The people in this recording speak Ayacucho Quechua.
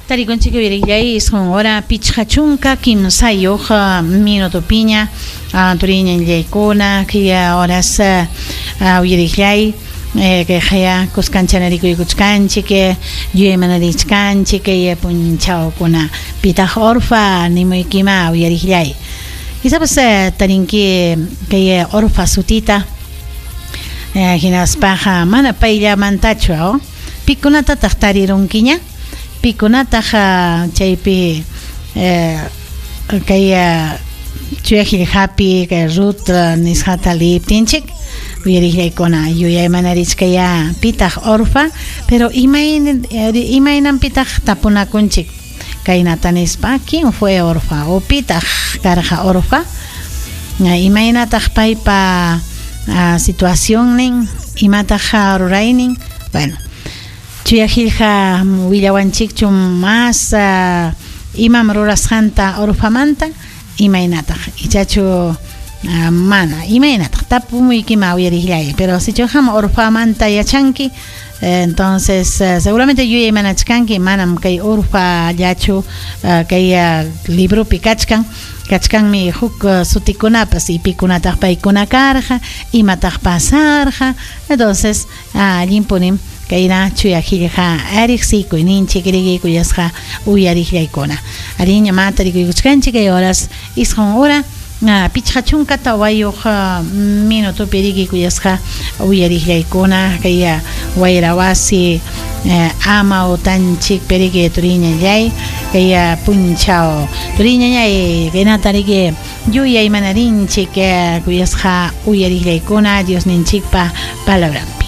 Tarikunchik uyariqllay 9 hora 53 minutopiña, turiñallaykuna, kay horas uyariqllay, kayqaya kuskanchanarikuykuchkanchik, yuyaymanarichkanchik kay punchawkuna. Pitaq Orfa nimuykima, uyariqllay? Quizás tarinki kay Orfa sutita, hinaspaqa mana payllamantachu, pikunatataq tarirunkiña? Pikunataq chaypi kay chuya qillqapi kay Ruth nisqata liyiptinchik? Uyariqllaykuna, yuyaymanarichkaya pitaq Orfa, pero imaynanpitaq tapunakunchik kaynata nispa: "¿Quién fue Orfa?" O "¿Pitaq karqa Orfa? Imaynataq paypa situacionnin? Imataq ruraynin?" Bueno, chuya qillqa willawanchikchu mas imam rurasqanta Orfamanta? Imaynataq? Ichachu mana? Imaynataq? Tapumuykima, uyariqllay. Pero sichu qam Orfamanta yachanki, entonces seguramente yuyaymanachkanki manam kay Orfallachu kay libropi kachkan, kachkanmi huk sutikunapas, y pikunataq paykuna karqa, imataq pasarqa. Entonces allinpunim kayna chuya qillqa riqsikuyninchik, riki, kuyasqa uyariqllaykuna. Ariña ma tarikuykuchkanchik kay horas 9 hora 54 minutopi, riki, kuyasqa uyariqllaykuna, kay wayra wasi amawtanchikpi, riki, turiñallay, kay punchaw, turiñallay, kaynata, riki, yuyaymanarинchik, kuyasqa uyariqllaykuna, Diosninchikpa palabranpi.